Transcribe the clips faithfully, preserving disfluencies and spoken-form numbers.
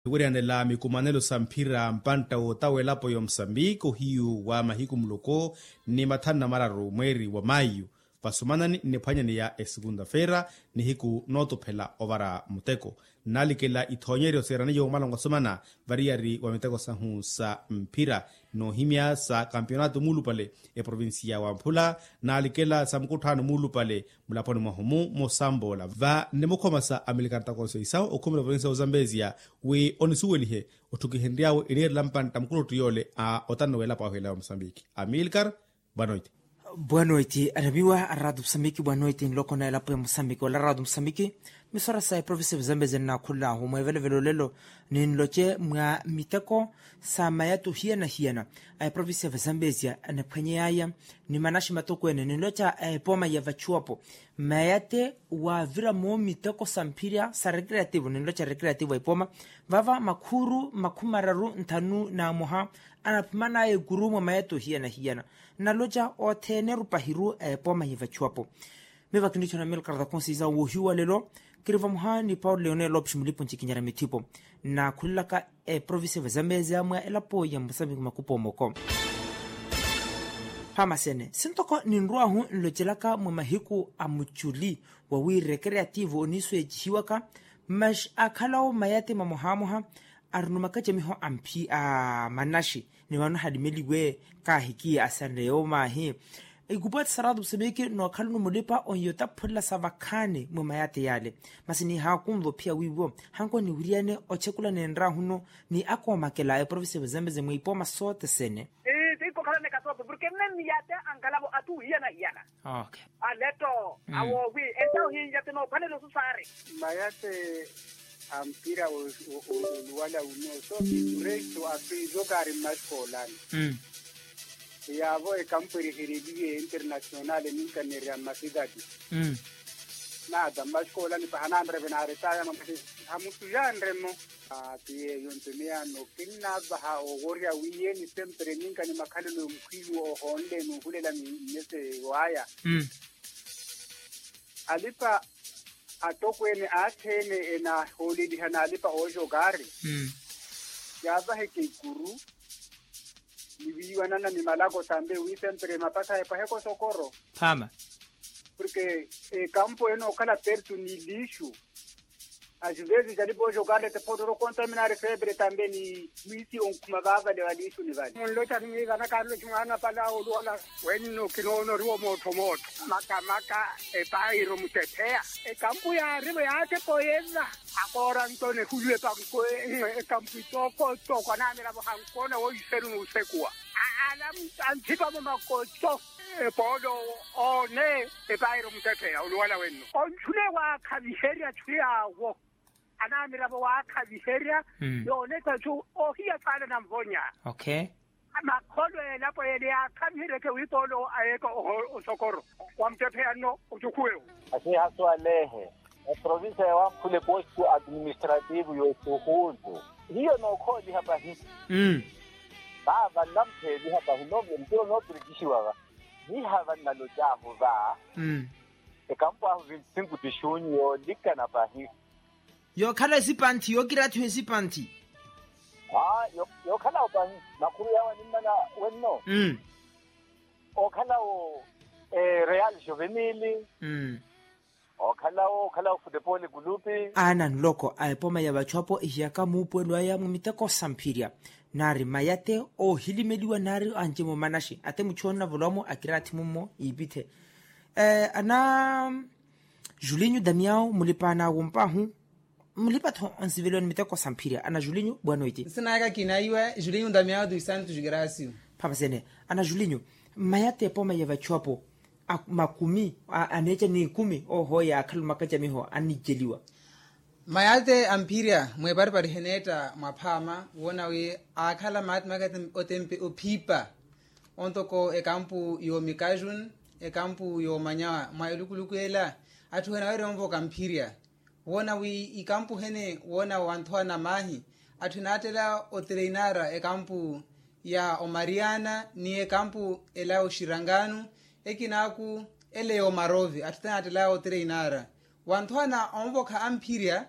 niwirihanela mikumanelo sa mphira mpantta wootawa elapo ya omusambiki ohiyu wa mahiku muloko ni mathanu na mararu mweeri wa mayu, vasumanani nniphwanyaneya esekunda-feera nihiku nootuphela ovara muteko. Nnalikela ithoonyeryo siiraniye omwalango asumana variyari wa miteko sahu sa mphira noohimya sa kampionato muulupale eprovincia wa mphula, naalikela sa mukutthaano muulupale mulaponi mwahu-mu mosampoola va nnimukhomasa amilikaari takonseisawu okhumela provincia wa ozambesia wi onisuwelihe otthukihenry'awe eniirela mpantta mukuluttu yoole a otanna w'elapo ahu ela ya omusambiki amilikaari. Bwanoiti. Bwanoiti anamiwa aratu musambiki bwanoiti nloko na elapo ya musambiki wala aratu musambiki. Misora sa eprovincia ya vazambezia nnaakhul'ahu mweevelovelo olelo ninloce mwa miteko sa mayattu hiyana-hiyana a eprovincia ya vazambezia aniphwanyeyaya ni manaxi matokweene ninloca a epoma ya vachuwapo mayate waavira moomiteko sa mphirya sa recreativo ninloca recreativo a epoma vava makhuuru makhumi mararu nthanu na mmoha anaphimanaya ekuru mwa mayate ohiyana-hiyana. Naloca othene erupahiru a epoma ya vachuwapo. Miyo vakinrittho na milkarta konsiisa woohiwa lelo kiri vamoha ni paulo leone lopes mulipu ncikinyara mithipo nnaakhulelaka eprovincia vazambezia mwa elapo ya musambiki makupu omoko. Phamasene sintoko ninrw'ahu nlocelaka mwa mahiku a muculi wawi recreativo oniisweecihiwaka mas akhalawo mayate mamohamoha arino makacamiho a manaxi ni vano halimeliwe kaahikiye asanre yoomaahi. Ikupwati saratu musambiki nookhalano mulipa onyotaphulelasa vakhaani mwa mayate yaale. Masi nihaakunva ophiya wiiwo hanko niwiriyane ochekula nenraahuno ni akoomakela eprovincia ya vazambezia mwa ipooma sote sene. Ii tinkokhalane kasopo porke mme miyate ankalavo athu hiyana-hiyana. Okay. Aleto awoowi entawo hiiya ti noophwanela osusaari. Mayate a mpira oluwala uno so kikurexo afiizo kaari mmaxikoolani. Yaavo ekampu erihereliye internasionale ninkaneerya mmasidadi. Naata mmaxikoolani paha naanreve naaretaya mwa masi hamusuyanremo. Ti yeeyo nto miyaano kinnaavaha oworya wi yeeni sempre ninka ni makhalelo yomukhwiiwo ohoonle nuuhulela mmese waaya. Alipa atokweene aattheene enahooleliha n'alipa ooxokaari yaavaheke ikuru ni wiiwanana ni malako tambe wi sempre mapasa epwaheke osokoro. Porke ekampu enookhala pertu ni liixu. Axivezes alipa ooxokaari ete phootoro kontaminari feepere tambe ni mwiisi onkhuma vaavale wa liixu ni vale. Munlotari mwiivanaka anloci mwaana pala oluwala wenno kinoonoriwa omootho-mootho maka-maka. Epairo mutepheya ekampu yaarivo yaatepa oyeva. Akoora nto nehulwe panko ekampu itooko-tooko anaamiravo hankoona woiseru n'usekuwa. Ala anthipamo makoco epoolo oone. Epairo mutepheya oluwala wenno onchule waakhaviherya chu yaawo. Anaamiravo waakhaviherya yoonetta chu ohiya saana nanvonya. Makholwe elapo yene yaakhaviheryeke wi poolo ayeeka osokoro wa mutepheya nno otukhuwewo. Asihaswalehe eprovincia ya wamphule postu administrativo y'osuhuntu hiyo nookhooliha pahi. Vaava nnamupheeliha pahi noopirikixiwa va. Niha vannalocaahu va ekampu ahu vinti sinku ti xunyu yoolikana pahi. Yookhala esipanthi yookiraathiwa esipanthi. Aa yookhala opahi makhuru yaawo animmana wenno. Okhalawo real juvenile. Okhalawo okhalawo futepoli kulupi. Aana nloko a epoma ya vachu apo ehiyaka muupuwelo aya mwa miteko samphirya. Naari mayate oohilimeliwa naari anci-mo manaxi ate muchu onnavolowa-mo akiraathi mummo iipithe. Ana julinyu damiao mulipa anaawomp'ahu. Mulipa-tho onsiveliwa ni miteko samphirya ana julinyu bwanoiti. Nsina aka kinaiwa julinyu damiao tu isantu jugrasio. Phapasene ana julinyu mayate epoma ya vachu apo makumi aneeca n'ikumi oho yaakhala omakacamiho anniceliwa. Mayate amphirya mweeparipari heneetta mwa phaama woona wi aakhala maati makati otempe ophipa. Ontoko ekampu y'omikajun ekampu y'omanyawa mwa elukuluku ela atthu enawerya onvoka mphirya. Woona wi ikampu hene woona wanthowa na maahi atthu enaattela otreinara ekampu ya omariana ni ekampu ela oxiranganu ekinaaku ele y'omarovi atthu tenaattela otreinara wanthowa na onvokha amphirya.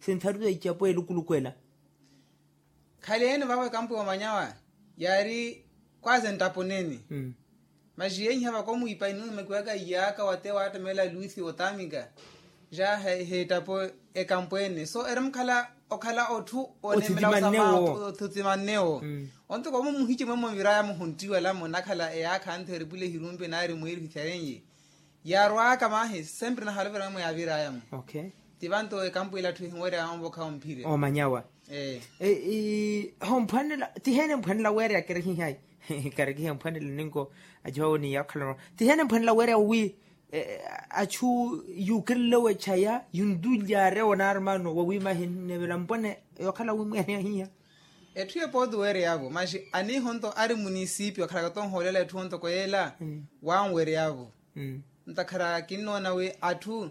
sintharu sa icapo elukuluku ela. Khaleene vavo ekampu ya omanyawa yaari kwaze nttaponeni. Maxi yeiha vakomwipa inuumekiwaka iyaaka wate waattamela luthi otamika ja heettapo ekampu ene so eremukhala okhala otthu onemela othutimannewo. Ontoko omo muhici mwemwe oviraya muhuntti wala munakhala eyaakha anthi eripule ehirumpi naari mwiiri hithyarenye. Yaarwaaka mahi sempre nahaluverya mwemwe yaaviraya-mo. Ti vanto ekampu ila atthu ehinwerya onvokha omphirya omanyawa. Homphwanela tiheene mphwanela weereya kerehihayi. Kerehihayi mphwanela ninko acihawo ni yaakhalano tiheene mphwanela weereya wi achu yuukerelewe chaya yuntulyaarewo naari maano wawiima ahinevela mpwane yookhala wimweene ahiya. Etthu epootu weereyavo maxi aniihonto ari munisipi okhalaka tonhoolela etthu ontoko yeela wanwereyavo. Ntakhara kinnoona wi atthu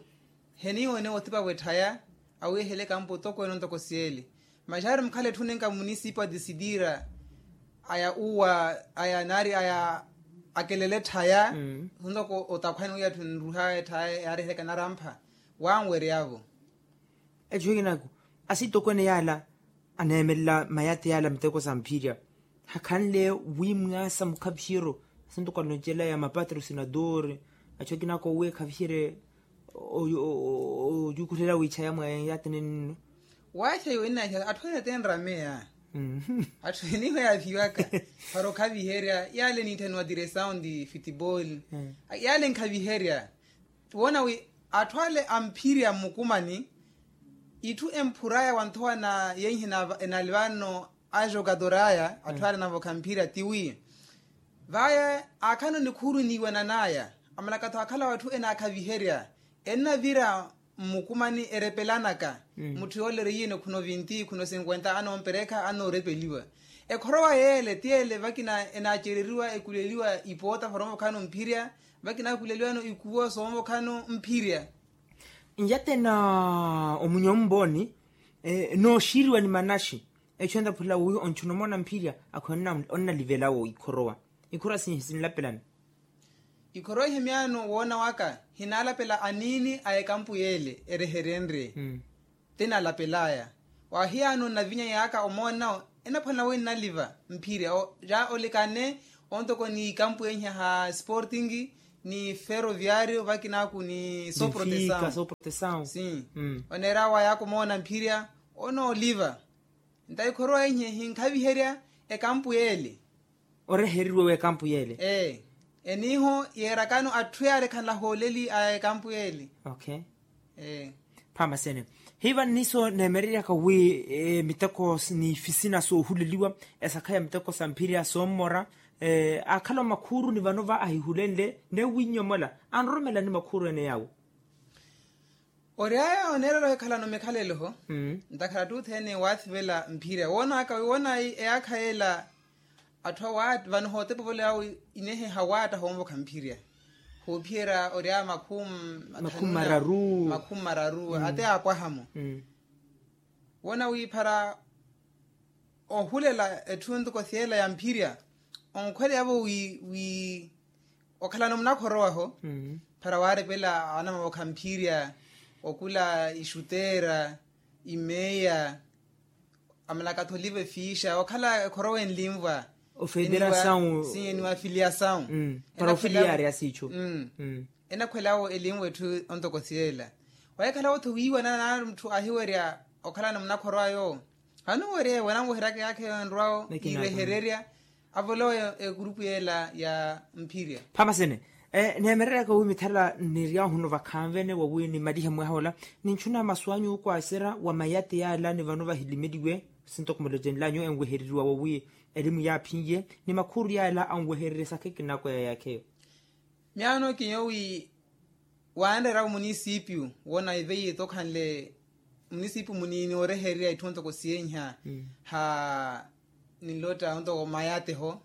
heniiwone othipa wetthaya awiihele ekampu tokweene ontoko siyele. Maxi ari mukhala etthu nenka munisipi wa disitira aya uwa aya naari aya akelele tthaya ntoko otakhwani wi atthu nruha etthaya yaarihereka narampha wanwereyavo. Echo ekinako asitokweene yaala aneemelela mayati yaala miteko sa mphirya hakhanle wi mwaasa mukhaviheryo asintoko aloncelaya mapatro sinadori. Acho akinako wi ekhaviherye oyukulela wiichaya mwa yatinenno. Waacheyo innacha atthu ene tenrameya atthu eniho yaaviwaka para okhaviherya yaale niitthaniwa diresawu ndi fitiboli yaale nkhaviherya woona wi atthu ale amphirya mmukumani itthu emphuraya wanthowa na yenhi enalivanno ajogadoraya atthu ale anavokha mphirya tiwi vaya aakhana onikhuuru eniiwananaya amalaka-tho akhalawa atthu enaakhaviherya ennavira mmukumani erepelanaka mutthu yoole eriyene khuna ovinti khuna osinkwenta anoomperekha anoorepeliwa ekhorowa yeele ti yeele vakina enaacereriwa ekuleliwa ipoota foromo vakhana omphirya vakina akuleliwano ikuwo soomokhano mphirya. Nyatena omunyo mbooni nooxiriwa ni manaxi echo entaphula wi onchuna omoona mphirya akhwene onnalivelawo ikhorowa ikhorowa sinlapelani. Ikhorowa ihemyano woona waka hinaalapela aniini a ekampu yeele ereherenrye tinalapelaya. Wahiyano nnavinya yaaka omoona enaphwanela wi nnaliva mphirya ja olikane ontoko ni ikampu enhya ha sporting ni ferroviario vakinaku ni soprotesaun. Soprotesaun si. Oneera wa yakumoona mphirya onooliva. Ntaikhoruwa inye hinkhaviherya ekampu yeele. Oreheriwe w'ekampu yeele. Ee. Eniiho yeerakano atthu yaale khanlahooleli a ekampu yeele. Okay. Ee. Phamasene. Hiiva nniso neemereryaka wi miteko ni fisina soohuleliwa esakha ya miteko sa mphirya soommora. Aakhala omakhuuru ni vano va ahihulenle neewinnyomola anroromela ni makhuuru ene yaawo. Oryaya oneerela ohikhalano mikhalelo-ho. Ntakhara atthu othene waathivela mphirya woonaka wi woonayi eyaakha yeela. Atthu awaat vano hootepa ovole awo inehe hawaatta hoonvokha mphirya. Khoophiyerya oryaya makhumi mathanu makhumi mararu. Makhumi mararu ate aapwaha-mo. Woona wiiphara ohulela etthu ntoko syela ya mphirya. Onkhweleyavo wi wi okhalano munakhorowa-ho. Para waarepela anamavokha mphirya okula ixuteera imeya amalakatholiva efiixa okhala ekhorowa enlinvwa ofederasawu. Siye ni wafiliyasawu. Para ofiliyari asiicho. Enakhwelawo elinvwa etthu ontoko syela. Wahikhalawo-tho wiiwanana naari mutthu ahiwerya okhalano munakhorowa yoowo. Hanuwerye wananweheryaka yaakha eyo enrwawo yiirehererya avolowe ekurupu yeela ya mphirya. Phamasene. Neemereryaka wi mithala nniryahu nno vakhanvene wawi nimalihe mwaha ola. Ninchuna masu anyu okwaaserya wa mayate yaala ni vano vahilimeliwe. Sintoko mulocenlanyu enwehereriwa wawi elimu yaaphinye ni makhuuru yaala anwehererye sakha ekinako ya yaakha eyo. Myaano kinyoowi waanreera omunisipiyu woona iveiye tokhanle. Munisipiyu muniini oorehererya itthu ontoko siyenha ha ninlotta ontoko mayateho.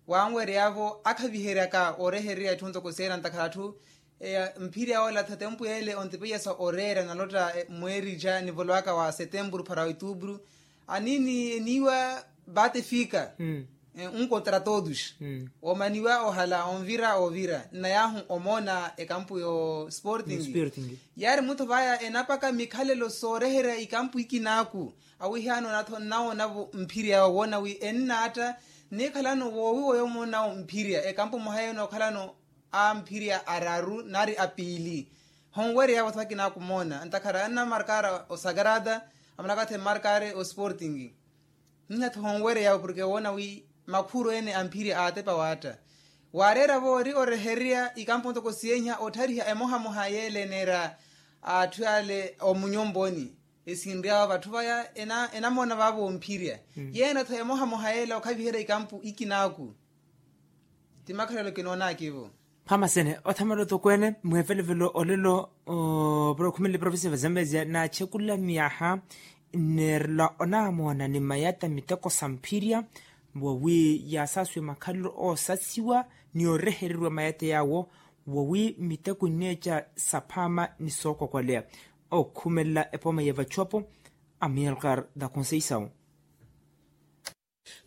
Waanweryavo akhaviheryaka oorehererya itthu ontoko siyenha ntakhara atthu mphirya ola tha tempu yeele ontipeyasa oreera nalotta mweeri ja nivolowaka wa setempuru para oituupuru. Aniini eniiwa batefika. Unkotra todos. Omaniwa ohala onvira ovira nnayahu omoona ekampu yo sporting. Yaari mutthu vaya enapaka mikhalelo sooreherya ikampu ikinaku. Awihiyaano natho nnawoonavo mphirya owoona wi ennaatta nikhalano woowiwa yomoonawo mphirya ekampu mwaha yeno okhalano a mphirya araru nari apiili. Honweryavo tho akinaku moona ntakhara annamarkara osagrada amalakathe mmarkare osporting. Nnihatho honweryavo porke woona wi makhuuru ene a mphirya aatepa waatta. Waareeravo ori orehererya ikampu ntoko siyenha otthariha emohamoha yeele eneera atthu ale omunyomponi. Esinryavo vatthu vaya enamoona vavo omphirya. Yeene-tho emohamoha yeela okhaviherya ikampu ikinaku. Ti makhalelo kinoonaka ivo. Phamasene othamela otokweene mweevelevelo olelo. Opuro khumele provincia va zambezia naachekula myaha nneerela onamoona ni mayata miteko sa mphirya. Wawi yaasasuwe makhalelo oosasiwa ni orehereriwa mayata yaawo. Wawi miteko nneeca saphaama ni sookokwaleya okhumelela epooma ya vachopo. Amilcar da conceição.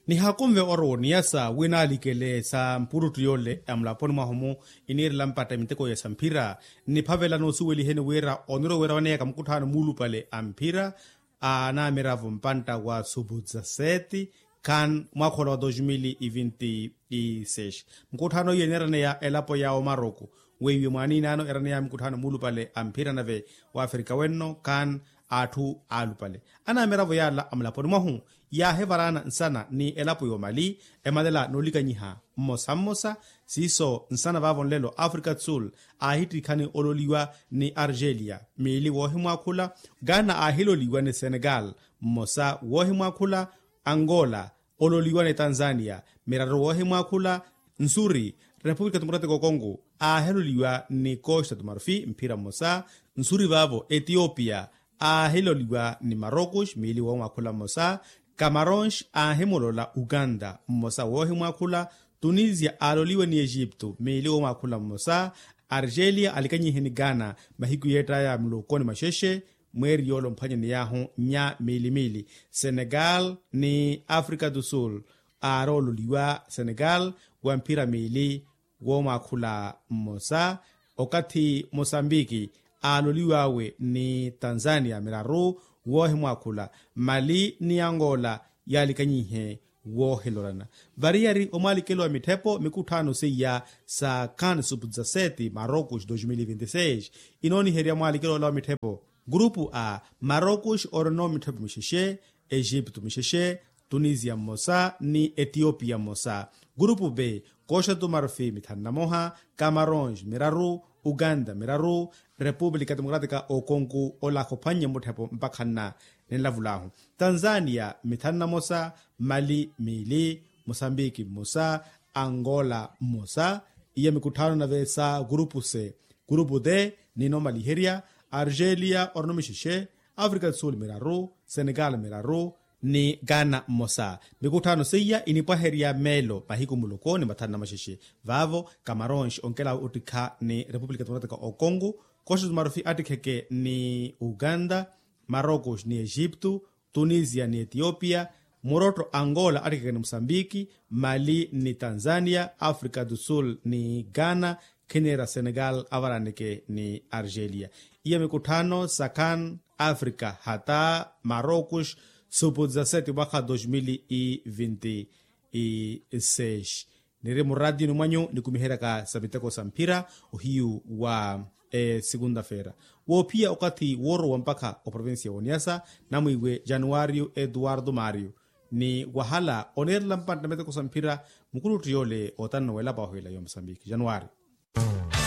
Nihakunve orowo niyasa wi naalikele sa mpuruttu yole ya mulaponi mwahu-mu iniirela mpatta miteko ya samphira. Niphavela noosuweliheni wira oniro wira waneeyaka mukutthano muulupale a mphira a namiravo mpantta wa subuza seti khan mwakhola wa dos mil e vinti e seis. Mukutthano iyo eneeraneya elapo ya omaroku weiwe mwaaniinaano eraneya mukutthano muulupale a mphira nave wa afrika wenno khan atthu aalupale anamiravo yaala a mulaponi mwahu. Yaahivaraana nsana ni elapo y'omali emalela noolikanyiha mmosa mmosa. Siiso nsana vaavo nlelo afrika do sul aahittikhani ololiwa ni argelia miili woohimwaakhula. Ghana aahiloliwa ni senegal mmosa woohimwaakhula. Angola ololiwa ni tanzania miraru woohimwaakhula. Nsuri repupulika tumokratiko kongo aahiloliwa ni costa tumarufi mphira mmosa. Nsuri vaavo etiopia aahiloliwa ni marocos miili woomwaakhula mmosa. Camarons aahimolola uganda mmosa woohimwaakhula. Tunisia aaloliwa ni egipto miili woomwaakhula mmosa. Argelia alikanyihe ni ghana mahiku yeettaya mulokoni mwaxexe mweeri yoole omphwanyaney'ahu nnya miili miili. Senegal ni afrika do sul aaroololiwa senegal wa mphira miili woomwaakhula mmosa. Okathi mosambiki aaloliw'awe ni tanzania miraru woohimwaakhula. Mali ni angola yaalikanyihe woohelorana. Variyari omwalikelo wa mitthepo mikutthano seiya sa kan sub dezaseti marocos dos mil vinti seis inooniherya mwalikelo ola wa mitthepo. Gurupu a, marocos orino mitthepo mixexe, egipto mixexe, tunisia mmosa ni etiopia mmosa. Gurupu b, koxatu marufi mithanu na moha, camarons miraru, uganda miraru, repúblika democrátika okonku ola khophwannye mutthepo mpakhanna. Ninlavulahu tanzania mithanu na mosa, mali miili, mosambiki mmosa, angola mmosa. Iya mikutthano nave sa gurupu se. Gurupu de, nino maliherya, argelia orino mixexe, afrika do sul miraru, senegal miraru, ni ghana mmosa. Mikutthano seiya inipwaherya meelo mahiku muloko ni mathanu na maxexe. Vaavo camarons onkela ottikha ni repúblika democrátika okongo, koxatu marufi attikheke ni uganda, marocos ni egipto, tunisia ni etiopia, murotto angola attikheke ni mosambiki, mali ni tanzania, afrika do sul ni ghana, khinira senegal avaraneke ni argelia. Iya mikutthano sa kan afrika hata marocos, supu dezaseti mwakha dos mil e vinti e seis. Niri muraatiyoni mwanyu nikumiheryaka sa miteko sa mphira ohiyu wa esikunda-feera. Woophiya okathi woorowa mpakha oprovincia woniasa, namwiiwe januario eduardo mario ni wahala oneerela mpantte miteko sa mphira. Mukuluttu yoole otanna weelapa wahu ela yo mosambiki januario.